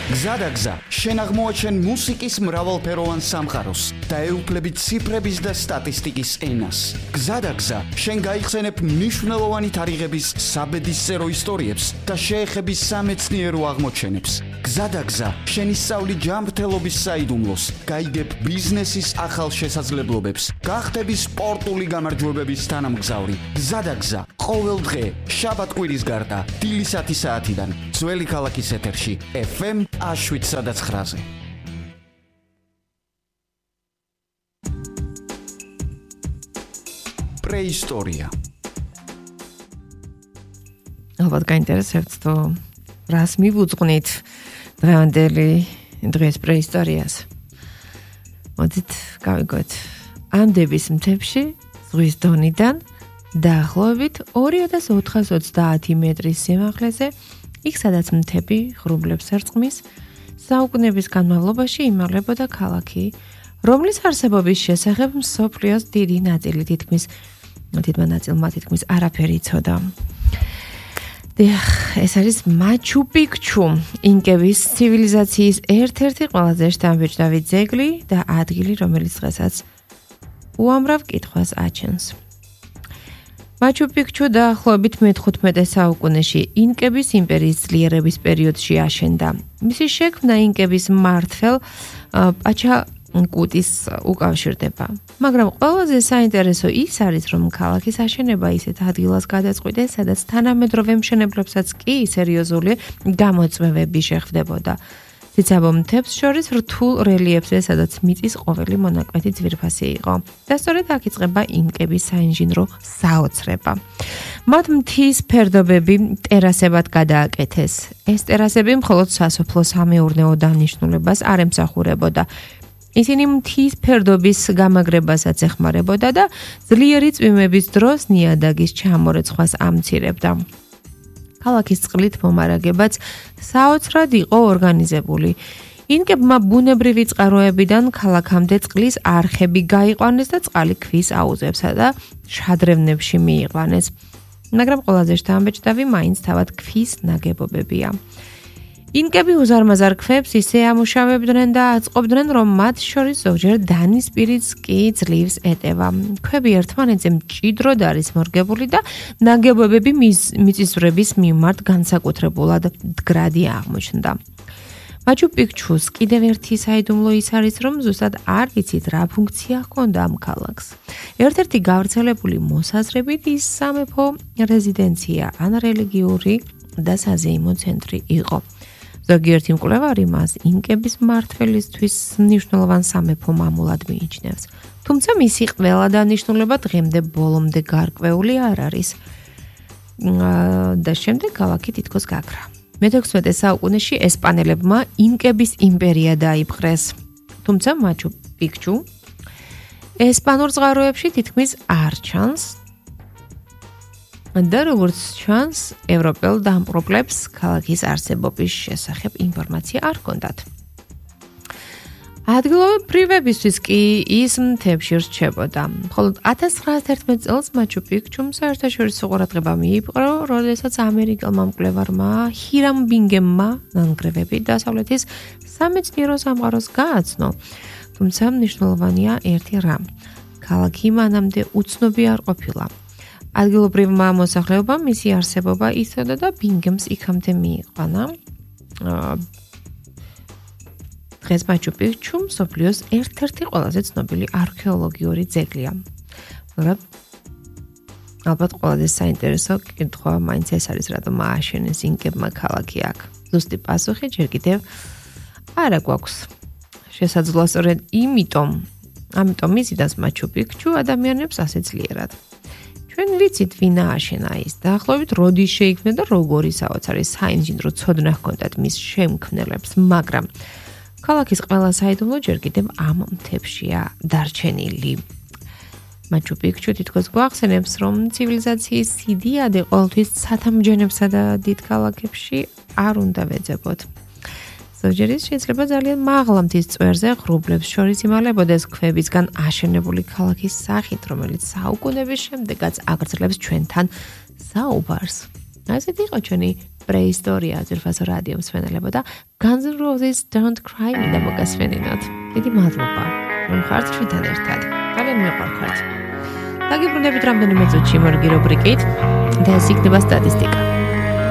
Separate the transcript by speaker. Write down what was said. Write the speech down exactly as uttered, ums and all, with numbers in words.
Speaker 1: გზადაგზა, შენ აღმოაჩენ მუსიკის მრავალფეროვან სამყაროს და ეუფლები ციფრების და სტატისტიკის ენას. გზადაგზა, შენ გაიხსენებ მნიშვნელოვანი თარიღების საბედისწერო ისტორიებს და შეეხები სამეცნიერო აღმოჩენებს. გზადაგზა, შენ ისწავლი ჯანმრთელობის საიდუმლოს, გაიგებ ბიზნესის ახალ შესაძლებლობებს, გახდები სპორტული გამარჯვებების თანამგზავრი. გზადაგზა, ყოველ დღე, შაბათ-კვირის გარდა, დილისათი საათიდან, ძველი ქალაქის ეთერში, ეფ ემ შვიდსა და ცხრაზე. პრეისტორია.
Speaker 2: ალბათ გაინტერესებთ თუ რას მივუძღვნით დღევანდელი დღეს პრეისტორიას. მოდით გავიგოთ ანდების მთებში ზღვის დონიდან დაახლოებით ორი ათას ოთხას ოცდაათი მეტრის სიმაღლეზე, იქ სადაც მთები ღრუბლებს ერწყმის, საუკუნეების განმავლობაში იმაღლებოდა ქალაქი, რომლის არსებობის შესახებ მსოფლიოს დიდი ნაწილი თითქმის თითმა ნაწილმა თითქმის არაფერი იცოდა. ეს არის მაჩუ პიქჩუ, ინკების ცივილიზაციის ერთ-ერთი ყველაზე შთამბეჭდავი ძეგლი და ადგილი, რომელიც დღესაც უამრავ კითხვას აჩენს. მაჩუ პიქჩუ დაახლოებით მეთხუთმეტე საუკუნეში ინკების იმპერიის ძლიერების პერიოდში აშენდა. მისი შექმნა ინკების მმართველ პაჩაკუტის უკავშირდება. მაგრამ ყველაზე საინტერესო ის არის, რომ ქალაქის აშენება ისეთ ადგილას გადაწყვიტეს, სადაც თანამედროვე მშენებლებსაც კი სერიოზული გამოწვევები შეხვდებოდა. ციცაბო მთებს შორის რთულ რელიეფზე, სადაც მიწის ყოველი მონაკვეთი ძვირფასი იყო. და სწორედ აქ იწყება ინკების საინჟინრო საოცრება. მათ მთის ფერდობები ტერასებად გადააკეთეს. ეს ტერასები მხოლოდ სასოფლო-სამეურნეო დანიშნულებას არ ემსახურებოდა. ისინი მთის ფერდობის გამაგრებასაც ეხმარებოდა და ძლიერი წვიმების დროს ნიადაგის ჩამორეცხვას ამცირებდა. ქალაქის წყლით მომარაგებაც საოცრად იყო ორგანიზებული. ინკებმა ბუნებრივი წყაროებიდან ქალაქამდე წყლის არხები გაიყვანეს და წყალი ქვის აუზებსა და შადრევნებში მიიყვანეს. მაგრამ ყველაზე შთამბეჭდავი მაინც თავად ქვის ნაგებობებია. ინკები უზარმაზარ ქვებს ისე ამუშავებდნენ და აწყობდნენ, რომ მათ შორის ზოგჯერ დანისპირიც კი ძლივს ეტევა. ქვები ერთმანეთზე მჭიდროდ არის მორგებული და ნაგებობები მიწისძვრების მიმართ განსაკუთრებულად მდგრადი აღმოჩნდა. მაჩუ პიქჩუს კიდევ ერთი საიდუმლო ის არის, რომ ზუსტად არ იცით რა ფუნქცია ჰქონდა ამ ქალაქს. ერთ-ერთი გავრცელებული მოსაზრებით ის სამეფო რეზიდენცია ან რელიგიური და საზეიმო ცენტრი იყო. ზოგიერთი მკვლევარი მას ინკების მმართველისთვის მნიშვნელოვან სამეფო მამულად მიიჩნევს. თუმცა მისი ყველა დანიშნულება დღემდე ბოლომდე გარკვეული არ არის. და შემდეგ ქალაქი თითქოს გაქრა. მეთექვსმეტე საუკუნეში ესპანელებმა ინკების იმპერია დაიპყრეს. თუმცა მაჩუ პიქჩუ ესპანურ წყაროებში თითქმის არ ჩანს. და როგორც ჩანს, ევროპელ დამპყრობლებს ქალაქის არსებობის შესახებ ინფორმაცია არ ჰქონდათ. ადგილობრივებისთვის კი ის მთებში რჩებოდა. მხოლოდ ათას ცხრაას ერთმეტ წელს მაჩუ პიქჩუმ საერთაშორისო ყურადღება მიიპყრო, როდესაც ამერიკელმა მკვლევარმა ჰირამ ბინგემმა ნანგრევები დასავლეთის სამეცნიერო სამყაროს გააცნო. თუმცა მნიშვნელოვანია ერთი რამ. ქალაქი მანამდე უცნობი არ ყოფილა. ადგილობრივმა მოსახლეობამ მისი არსებობა იცოდა და ბინგემს იქამდე მიიყვანა. დღეს მაჩუ პიქჩუ მსოფლიოს ერთ-ერთი ყველაზე ცნობილი არქეოლოგიური ძეგლია. მაგრამ ალბათ ყველაზე საინტერესო კითხვა მაინც ეს არის, რატომ ააშენეს ინკებმა ქალაქი აქ. ზუსტი პასუხი ჯერ კიდევ არა გვაქვს. შესაძლოა სწორედ იმიტომ, ამიტომ იზიდავს მაჩუ პიქჩუ ადამიანებს ასე ძლიერად. ჩვენ ვიცით ვინ ააშენა ის, დაახლოებით როდის შეიქმნა და როგორი საოცარი საინჟინრო ცოდნა ჰქონდათ მის შემქმნელებს, მაგრამ ქალაქის ყველა საიდუმლო ჯერ კიდევ ამ მთებშია დარჩენილი. მაჩუ პიქჩუ თითქოს გვახსენებს, რომ ცივილიზაციის იდეადი ყოველთვის ცათამბჯენებსა და დიდ ქალაქებში არ უნდა ვეძებოთ. ზოგჯერ ის შეიძლება ძალიან მაღლა მთის წვერზე ღრუბლებს შორის იმალებოდეს ქვებისგან აშენებული ქალაქის სახით, რომელიც საუკუნეების შემდეგაც აგრძელებს ჩვენთან საუბარს. ასეთი იყო ჩვენი პრეისტორია ძირფასო რადიო მსმენელებო და Guns N' Roses Don't Cry მინდა მოგასვენინოთ. დიდი მადლობა, რომ ხართ ჩვენთან ერთად. ძალიან მიყვარხართ. დაგიბრუნდებით რამდენიმე წუთში მორგი რუბრიკით და ეს იქნება სტატისტიკა.